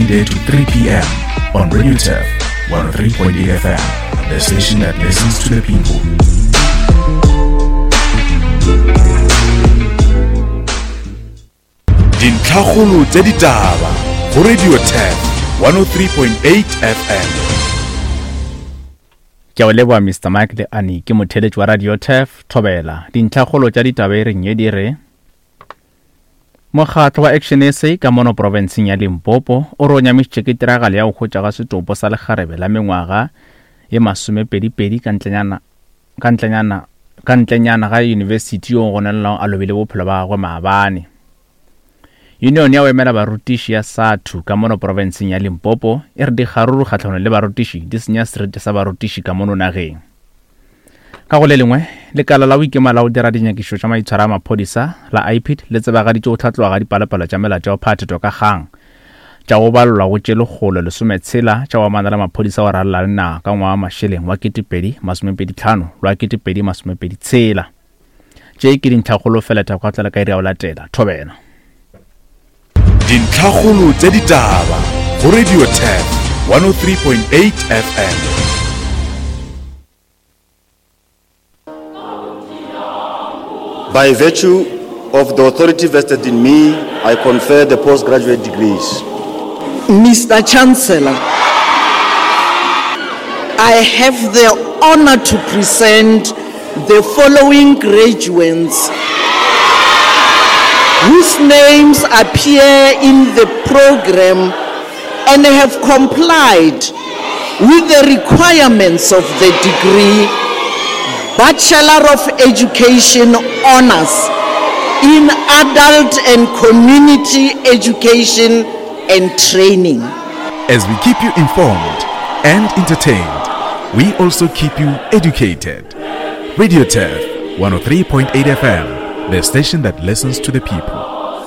Monday to 3 p.m. on Radio Turf 103.8 FM, the station that listens to the people. Dintlhakgolo tša ditaba go Radio Turf 103.8 FM. Ke a o leboga Mr Mike le Annie ke motheeletši wa Radio Turf Thobela. Dintlhakgolo tša ditaba e reng ye di re Mokgatlo wa Action SA ka mono profenseng ya Limpopo o re o nyamišitše ke tiragalo ya go hwetšwa ga setopo sa lekgarebe la mengwaga ye masomepedipedi ka ntlenyana ka ntlenyana ka ntlenyana ga yunibesithi yo go gononelwago a lobile bophelo ba gagwe maabane. Union ya go emela barutiši ya SATU ka mono profenseng ya Limpopo e re dikgaruru kgahlanong le barutiši di senya seriti sa barutiši ka mono nageng. Ka go le lengwe, lekala la go ikema la go dira dinyakišišo tša maitshwaro a maphodisa la IPID le tsebagaditše go hlatloga ga dipalopalo tša melato ya go phathetwa ka kgang tša go balelwa go tše 160 tša go amana le maphodisa go ralala le naga ka ngwaga wa mašeleng wa 2025 le wa 2026. Tše ke dintlhakgolo fela tša go tlela ka iri ya go latela. Thobela. Dintlhakgolo tša ditaba go Radio Turf 103.8 FM. By virtue of the authority vested in me, I confer the postgraduate degrees. Mr. Chancellor, I have the honor to present the following graduates whose names appear in the program and have complied with the requirements of the degree Bachelor of Education Honors in Adult and Community Education and Training. As we keep you informed and entertained, we also keep you educated. Radio Turf 103.8 FM, the station that listens to the people.